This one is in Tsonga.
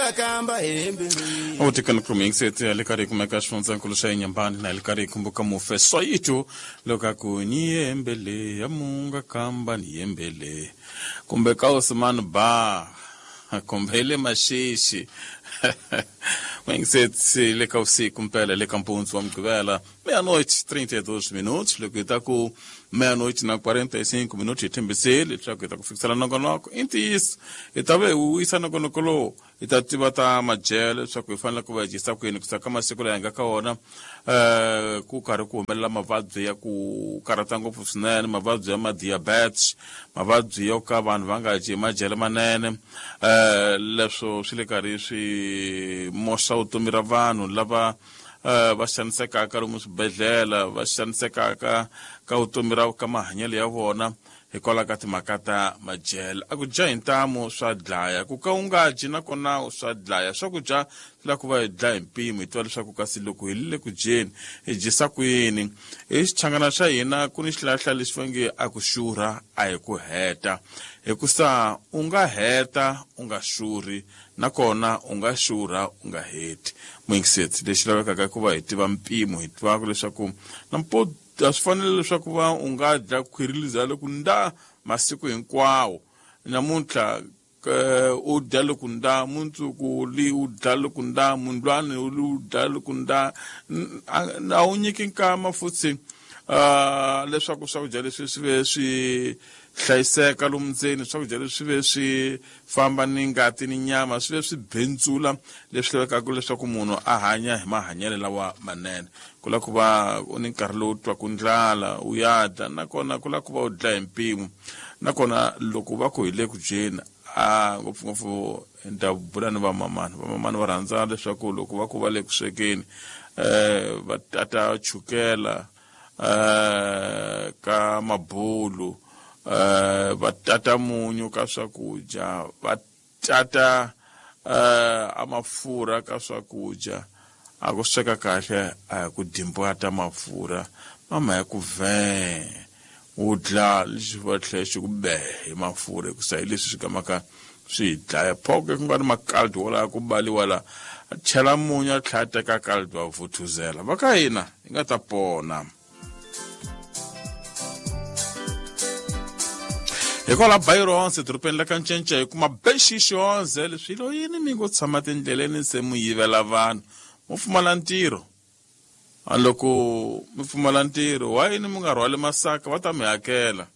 Munga kamba hembele. Utikani kumixete le karhi kumeka xifundzankulu xa Inyambani na le karhi kumbuka mufe Soyito loko a ku ni yembele ya munga kamba ni yembele kumbe ka Osman ba kumbe le Maxixi Mwingiseti le ka usiku mpela le ka mpundzu wa Mugqivela meia-noite 32 minutos loko hi ta ku meia-noite na 45 minutos hi tshembisile leswaku hi ta ku fikisela nongonoko i ntiyiso hi ta ve hi wisa nongonoko lowu hi ta tiva ta madyelo leswaku hi fanele ku va hi dyisa kwini ku ka masiku laha hi nga ka wona um ku karhi ku humelela mavabyi ya ku karhata ngopfu swinene mavabyi ya ma-diabetes mavabyi yo ka vanhu va nga dyi madyelo manene um leswo swi le karhi swi moxa vutomi ra vanhu lava va xanisekaka lomu swibedhlele va xanisekaka ka vutomi ra ka mahanyelo ya vona hikwalaho ka timhaka ta madyelo a ku dya hi ntamu swa dlaya ku ka u nga dyi nakona swa dlaya swakudya swi lava ku va hi dlaya hi mpimo hi tiva leswaku kasi loko hi le ku dyeni hi dyisa ku yini hi xichangana xa hina ku ni xilahla lexi va nge a ku xurha a hi ku heta hikusa u nga heta u nga xurhi nakona u nga xurha u nga heti muyingiseti lexi lavekaka i ku va hi tiva mpimo hi tivaka leswaku nampo a swi fanele leswaku va u nga dya khwiri liza loko nda masiku hinkwawo namuntlha u dya loko nda mundzuku li u dya loko nda mundlwani u li u dya loko nda a wu nyiki nkama futhi leswaku swakudya leswi swi ve swi hlayiseka lomu ndzeni swakudya leswi swi ve swi famba ni ngati ni nyama swi ve swi bentsula leswi lavekaka leswaku munhu a hanya hi mahanyelo lawa manene ku lava ku va u ni nkarhi lowu twaku ndlala u ya dya nakona ku lava ku va u dlaya hi mpimo nakona loko va ku hi le ku dyeni a ngopfungopfu ni ta bula ni vamamani vamamani va rhandza leswaku loko va ku va le ku swekeni um va tata chukela um ka mabulu um va tata munyu ka swakudya va tata um a mafurha ka swakudya a ku sweka kahle a hi ku dimbwata mafurha mama ya ku vhee u dla lexi va tlhela xi ku be hi mafurha hikusa hi leswi swi gamaka swi hi dlaya phoke ku nga ni makaldi wala ku baliwa la chela munyu a tlhela a teka kaldi wa vuthuzela va ka hina hi nga ta pona hikwalaho Byronse edorobeni la ka Ncencce hi kuma bexixonze leswi lo yini mi ngo tshama tindleleni se mu yivela vanhu mo pfumala ntirho a loko mi pfumala ntirho wa yini mi nga rhwali masaka va ta mi hakela.